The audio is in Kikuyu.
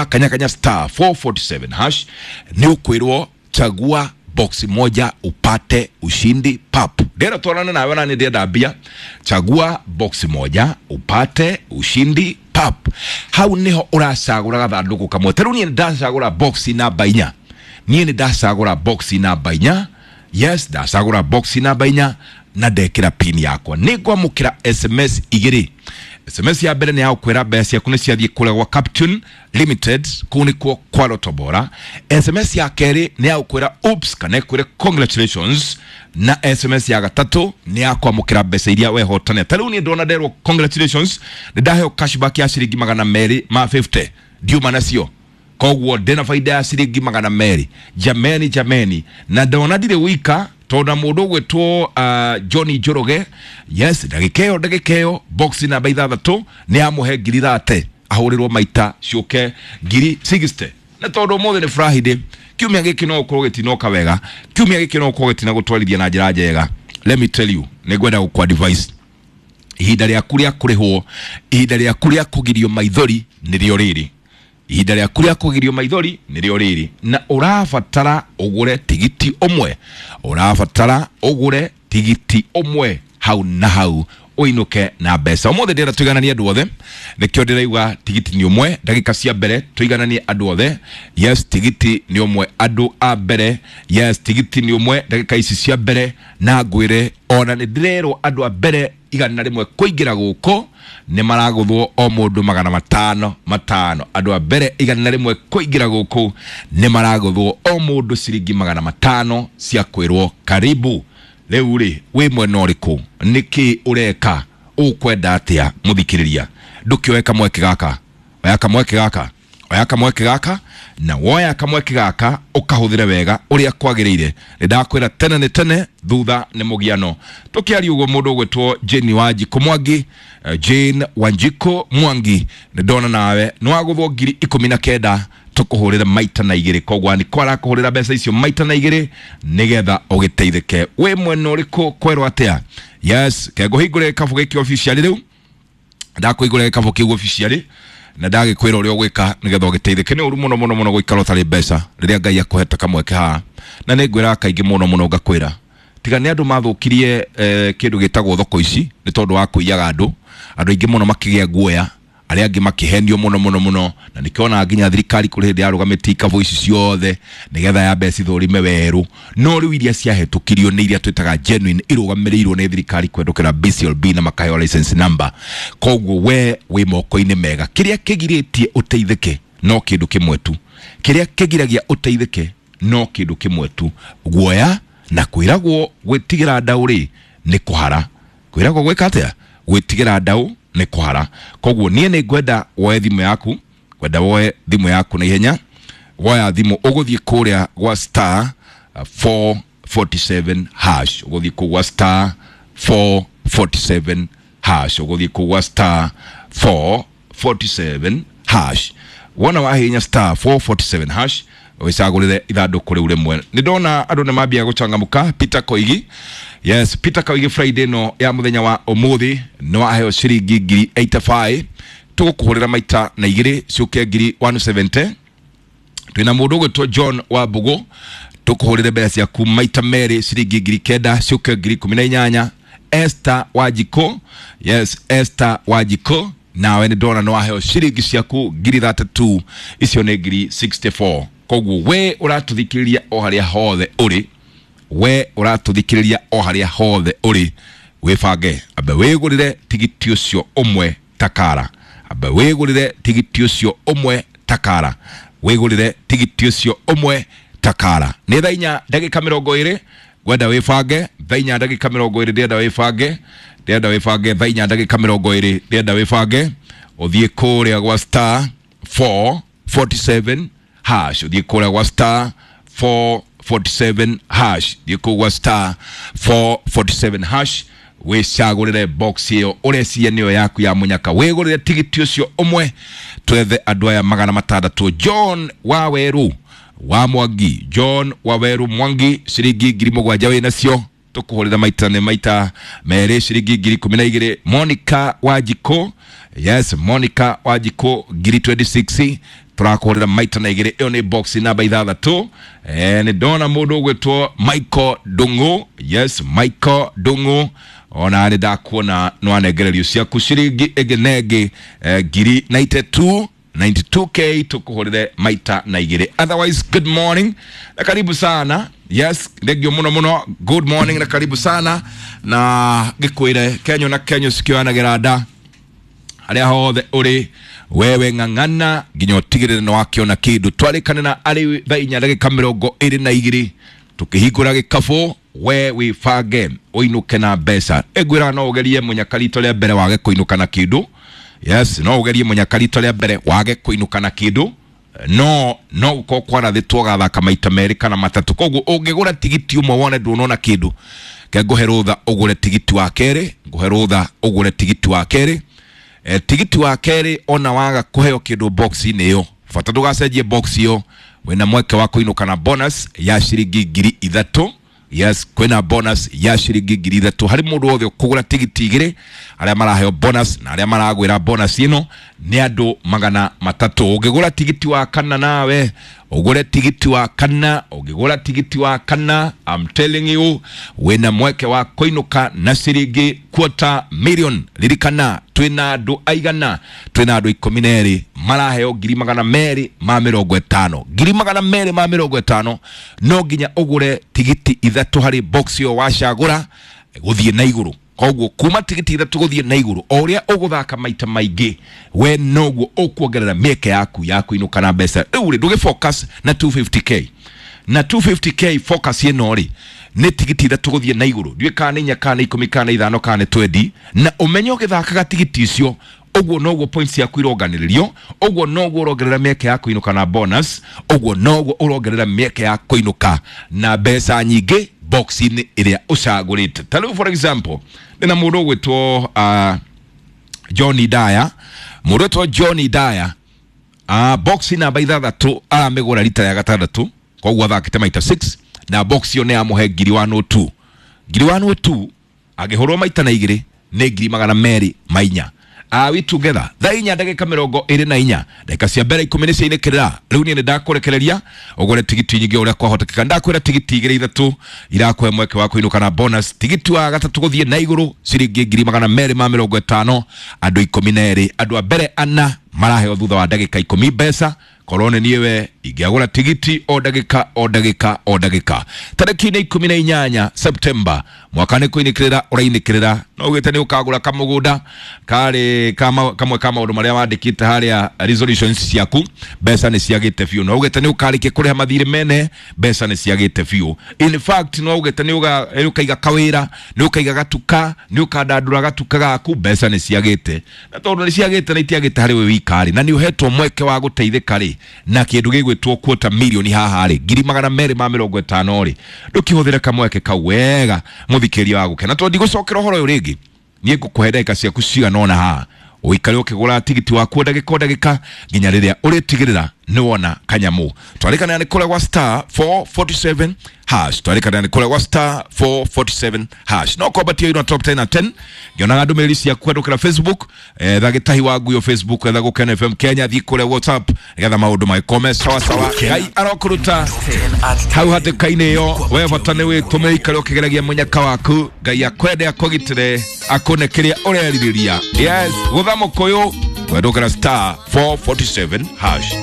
Kanya star 447 hash nĩ ũkwĩrwo chagua box moja upate ushindi pap. Ndĩrenda twarane nawe na nĩ ndĩrenda mbia. Chagua box moja upate ushindi pap. Hau niho ũracagũra gathandũkũ kamwe. Ta rĩu niĩ nĩndacagũra box namba inya. Niĩ nĩndacagũra box namba inya. Yes, ndacagũra box namba inya na ndekĩra pin yakwa. Nĩngwamũkĩra SMS igĩrĩ. SMS ya mbere nĩ ya gũkwĩra mbeca ciaku nĩ ciathiĩ kũrĩa gwa Captune Limited, kũu nĩkuo kwa Lotto Bora. SMS ya kerĩ nĩ ya gũkwĩra oops kana ĩkwĩre congratulations, na SMS ya gatatũ nĩ ya kwamũkĩra mbeca iria wehotanĩa. Ta rĩu niĩ ndona nderwo congratulations, nĩ ndaheo cashback ya ciringi 250 ndiuma nacio, koguo ndĩna baida ya ciringi 200. Jameni, jameni, na ndona ndirĩ wika tondũ na mũndũ ũgwĩtwo John Njoroge, yes, ndagĩka ĩyo box namba ithathatũ nĩ amũhe ngiri 30 ahũrĩrwo maita ciũke ngiri 60. Na tondũ ũmũthĩ nĩ Friday, kiumia gĩkĩ no gũkorwo gĩtinoka wega, kiumia gĩkĩ no gũkorwo gĩtina gũtwarithia na njĩra njega. Let me tell you, nĩ ngwenda gũkũ advice, ihinda rĩaku rĩa kũrĩhwo, ihinda rĩaku rĩa kũgirio maithori nĩrĩo rĩrĩ, ihinda rĩaku rĩa kũgirio maithori nĩrĩo rĩrĩ, na ũrabatara ũgũre tigiti ũmwe, ũrabatara ũgũre tigiti ũmwe hau na hau ũinũke na mbeca. Ũmũthĩ ndĩrenda tũigananie andũ othe, nĩkĩo ndĩrauga tigiti nĩ ũmwe. Ndagĩka cia mbere tũigananie andũ othe. Yes, tigiti nĩ ũmwe, andũ a mbere. Yes, tigiti nĩ ũmwe ndagĩka ici cia mbere, na ngwĩre ona nĩ ndĩrerwo andũ a mbere 100 kũingĩra gũkũ nĩ maragũthwo o mũndũ 500 500. Andũ a mbere 100 kũingĩra gũkũ nĩ maragũthwo o mũndũ ciringi 500 cia kwĩrwo karibu. Rĩu rĩ, wĩ mwena ũrĩkũ? Nĩkĩ ũreka? Ũkwenda atĩa mũthikĩrĩria? Ndũkĩoe kamweke gaka, oya kamweke gaka, oya kamweke gaka, na woya kamweke gaka ũkahũthĩre wega ũrĩa kwagĩrĩire. Nĩ ndakwĩra tene nĩ tene, thutha nĩ mũgiano. Tũkĩaria ũguo, mũndũ ũgwĩtwo Jane Wanjikũ Mwangi, Jane Wanjikũ Mwangi, nĩ ndona nawe nĩ wagũthwo ngiri 19, tũkũhũrĩre maita na igĩrĩ. Koguo nĩ kwarakũhũrĩra mbeca icio maita na igĩrĩ nĩgetha ũgĩteithĩke. Wĩ mwena ũrĩkũ? Kwerwo atĩa? Yes, kengũhingũre gĩkabũ gĩkĩ officially. Rĩu ndakũhingũra gĩkabũ kĩu officially na ndagĩkwĩra ũrĩa ũgwĩka nĩgetha ũgĩteithĩke. Nĩ ũru mũno mũno mũno gũikara ũtarĩ mbeca rĩrĩa Ngai akũhete kamweke haha. Na nĩ ngwĩraga kaingĩ mũno mũno ngakwĩra, tiga nĩ andũ mathũkirie kĩndũ gĩtagwo thoko ici nĩ tondũ wa kũiyaga andũ. Andũ aingĩ mũno makĩgĩa guoya, arĩa angĩ makĩhenio mũno mũno mũno, na nĩkĩona nginya thirikari kũrĩ hĩndĩ yarũgamĩtie ikabũ ici ciothe nĩgetha yambe cithũrime werũ. No rĩu iria ciahetũkirio nĩ iria twĩtaga genuine, irũgamĩrĩirwo nĩ thirikari kũhetũkĩra BCLB na makaheo license number. Koguo we wĩ moko-inĩ mega. Kĩrĩa kĩgirĩtie ũteithĩke no kĩndũ kĩmwe tu, kĩrĩa kĩgiragia ũteithĩke no kĩndũ kĩmwe tu, guoya na kwĩragwo gwĩtigĩra ndaũ rĩ nĩ kũhara. Kwĩragwo gwĩka atĩa? Gwĩtigĩra ndaũ nĩ kũhara. Koguo niĩ nĩ ngwenda woe thimũ yaku, ngwenda woe thimũ yaku na ihenya. Woya thimũ ũgũthiĩ kũrĩa gwa star 447 hash, ũgũthiĩ kũu gwa star 447 hash, ũgũthiĩ kũu gwa star 447 hash. Wona wahihinya star 447 hash, wĩcagũrĩre ithandũkũ rĩu rĩmwe. Nĩ ndona andũ nĩ mambia gũcangamũka. Peter Koigi, yes, Peter Koigi, Friday ĩno ya mũthenya wa ũmũthĩ nĩ waheo ciringi ngiri 85, tũgũkũhũrĩra maita na igĩrĩ ciũke ngiri 170. Twĩna mũndũ ũgwĩtwo John wa Mbũgũ, tũkũhũrĩre mbeca ciaku maita merĩ ciringi ngiri 9 ciũke ngiri 18. Esther Wanjikũ, yes, Esther Wanjikũ, nawe nĩ ndona nĩ waheo ciringi ciaku ngiri 32, icio nĩ ngiri 64. Koguo we ũratũthikĩrĩria o harĩa hothe ũrĩ, we ũratũthikĩrĩria o harĩa hothe ũrĩ, wĩbange, ambe wĩgũrĩre tigiti ũcio ũmwe takara, ambe wĩgũrĩre tigiti ũcio ũmwe takara, wĩgũrĩre tigiti ũcio ũmwe takara. Nĩ thaa inya ndagĩka 20, ngwenda wĩbange. Thaa inya ndagĩka 20, ndĩrenda wĩbange, ndĩrenda wĩbange. Thaa inya ndagĩka 20, ndĩrenda wĩbange ũthiĩ kũrĩa gwa star 447 hash, ũthiĩ kũrĩa gwa star 447 hash, thiĩ kũu gwa star 447 hash, wĩcagũrĩre box ĩyo ũreciria nĩyo yaku ya mũnyaka, wĩgũrĩre tigiti ũcio ũmwe, twethe andũ aya 600. John Waweru wa Mwangi, John Waweru Mwangi, ciringi ngiri 7 wĩ nacio, tũkũhũrĩra maita nĩ maita merĩ ciringi ngiri 12. Monica Wanjikũ, yes, Monica Wanjikũ, ngiri 26. Tũrakũhũrĩra maita na igĩrĩ. Ĩyo nĩ box namba 6. Nĩ ndona mũndũ ũgwĩtwo Michael Ndung'u. Yes, Michael Ndung'u, ona nĩ ndakuona nĩwanengererio ciaku ciringi ĩngĩ na ĩngĩ, ngiri 92 92K, tukuhurire maita na igĩrĩ. Otherwise, good morning na karibu sana. Yes, thengio muno muno. Good morning na karibu sana, na gĩkwĩre kenyo na kenyo cikĩoyanagĩra nda. Harĩa hothe ũrĩ wewe, ng'ang'ana nginya ũtigĩrĩre nĩ wakĩona kĩndũ. Twarĩkane na arĩ thaa 4 ndagĩka 22 tukĩhingũra gĩkabũ. We wĩbange ũinũke na mbeca. Ĩngwĩra no ũgerie mũnyaka rito rĩa mbere wage kũinũka na kĩndũ. Yes, no ũgerie mũnyaka rito rĩa mbere wage kũinũka na kĩndũ, no gũkorwo kwarathĩtwo gathaka maita merĩ kana matatũ. Koguo ũngĩgũra tigiti ũmwe wone ndũnona kĩndũ, ke ngũhe rũtha ũgũre tigiti wa kerĩ, ngũhe rũtha ũgũre tigiti wa kerĩ. Tigiti wa kerĩ, ona waga kũheo kĩndũ box-inĩ ĩyo, bata ndũgacenjie box ĩyo, wĩna mweke wa kũinũka na bonus ya ciringi 3,000. Yes, kwĩna bonus ya ciringi 3,000 harĩ mũndũ wothe ũkũgũra tigiti igĩrĩ. Arĩa maraheo bonus na arĩa maragwĩra bonus ĩno nĩ andũ 300. Ũngĩgũra tigiti wa kana, nawe ũgũre tigiti wa kana, ũngĩgũra tigiti wa kana, I'm telling you, wĩna mweke wa kũinũka na ciringi quarter million. Ririkana twĩna andũ aigana? Twĩna andũ 12 maraheo 250,000, 250,000. No nginya ũgũre tigiti 3 harĩ box ĩyo wacagũra gũthiĩ na igũrũ. Koguo kuma tigiti 3 gũthiĩ na igũrũ, o ũrĩa ũgũthaka maita maingĩ, we noguo ũkuongerera mĩeke yaku ya kũinũka na mbeca. Rĩu rĩ, ndũgĩ focus na 250K na 250K, focus ĩno rĩ nĩ tigiti 3 gũthiĩ na igũrũ. Ndiũĩ kana nĩ 4, kana nĩ 10, kana nĩ 5, kana nĩ 20. Na ũmenye ũgĩthakaga tigiti icio, ũguo noguo points ciaku ironganĩrĩrio, ũguo noguo ũrongerera mĩeke ya kũinũka na bonus, ũguo noguo ũrongerera mĩeke ya kũinũka na mbeca nyingĩ box-inĩ ĩrĩa ũcagũrĩte. Ta rĩu, for example, ndĩna mũndũ ũgwĩtwo Johnny Daya. Mũndũ ũgwĩtwo Johnny Daya, box namba 6 aramĩgũra rita rĩa gatandatũ, koguo athakĩte maita 6, na box ĩyo nĩ yamũhe ngiri 102, ngiri 102. Angĩhũrwo maita na igĩrĩ nĩ 204,000. Are we together? Thaa 4 ndagĩka 24, ndagĩka cia mbere 10 nĩ ciainĩkĩrĩra. Rĩu niĩ nĩ ndakũrekereria ũgũre tigiti nyingĩ ũrĩa kwahotekeka. Ndakwĩra tigiti igĩrĩ ithatũ irakũhe mweke wa kũinũka na bonus. Tigiti wa gatatũ gũthiĩ na igũrũ, ciringi 250,000, andũ 12. Andũ a mbere ana maraheo thutha wa ndagĩka 10 mbeca. Korwo nĩ niĩ we, ingĩagũra tigiti o ndagĩka, o ndagĩka, o ndagĩka. Tarĩki nĩ 18 September, mwaka nĩ kũinĩkĩrĩra ũrainĩkĩrĩra. No ugĩte nĩ ũkagũra kamũgũnda karĩ kamwe ka maũndũ marĩa wandĩkĩte harĩa resolutions ciaku, mbeca nĩ ciagĩte biũ. No ugĩte nĩ ũkarĩkia kũrĩha mathirĩ mene, mbeca nĩ ciagĩte biũ. In fact, no ugĩte nĩ ũkaiga kawĩra, nĩ ũkaiga gatuka, nĩ ũkandandũra gatuka gaku, mbeca nĩ ciagĩte. Na tondũ nĩ ciagĩte na itiagĩte harĩ we wika rĩ, na nĩ ũhetwo mweke wa gũteithĩka rĩ na kĩndũ gĩgwĩtwo quarter million haha rĩ, 250,000 rĩ, ndũkĩhũthĩre kamweke kau wega, mũthikĩria wa gũkena, tondũ ndigũcokera ũhoro ũyũ rĩngĩ. Niĩ ngũkũhe ndagĩka ciaku cigana ũna haha ũikare ũkĩgũra tigiti waku o ndagĩka o ndagĩka nginya rĩrĩa ũrĩtigĩrĩra nĩ wona kanyamũ. Twarĩkanĩra nĩ kũrĩa gwa star 447 hash, twarĩkanĩra nĩ kũrĩa gwa star 447 hash. No kwambatia ino top 10 na 10, ngĩonaga ndũmĩrĩri ciaku andũkĩra Facebook, etha Gĩtahi wa Nguyo Facebook, etha Gũkena FM Kenya, thiĩ kũrĩa WhatsApp nĩgetha maũndũ magĩkome sawa sawa. Ngai arokũruta hau hatĩka-inĩ ĩyo. We bata nĩ wĩtũme ikare ũkĩgeragia mũnyaka waku. Ngai akwende, akũgitĩre, akũne kĩrĩa ũrerirĩria. Yes, gũtha mũkũyũ kwendũkĩra star 447 hash.